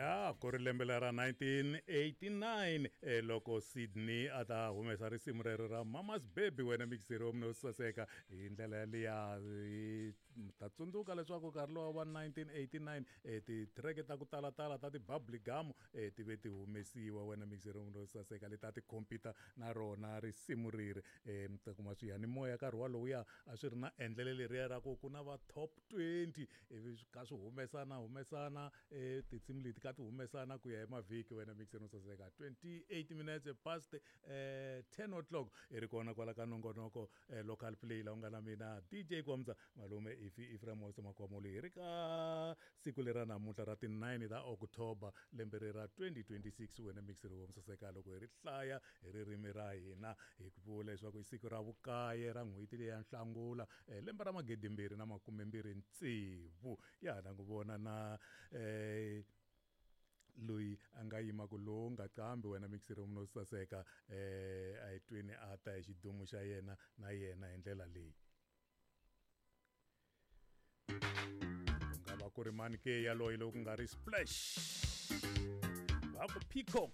Ya ku ri lembe lera 1989 loko Sydney a ta humesa risimu rero ra Mama's Baby, wena mixeri wa mina saseka hi ndlela yaliya. Ta tsundzuka leswaku nkarhi lowa wa 1989 titreke ta ku talatala ta ti-bubbly gum ti ve ti humesiwa, wena mixeri wa mina saseka, leti a ti compete na rona risimu reri. Mi ta kuma swiyanimoya nkarhi walowuya a swi ri na endlelo leriya ra ku ku na va top 20, ivi swi kha swi humesana humesana tinsimu leti ka ti humesana ku ya hi mavhiki, wena mixeri no saseka. 28 minutes past 10 o'clock, i ri kona kwala ka nongonoko Local Play, la u nga na mina DJ Kwamza malume Ifi Iframos Makwamolo. Hi ri ka siku lera namuntlha ra ti-9 ta October, lembe ri ra 2026, wena mixeri wo saseka. Loko hi ri hlaya hi ririmi ra hina, hi ku vula leswaku i siku ra vukaye ra n'hweti leyi ya Nhlangula, lembe ra 2026. Ya na ku vona na loyi a nga yimaka lowu nga qambi, wena mixeri wa mina saseka, a hi tweni a ta hi xidumu xa yena na yena hi ndlela leyi. Ku nga va ku ri mani ke yaloye loko ku nga ri Splash? Va ku Peacock.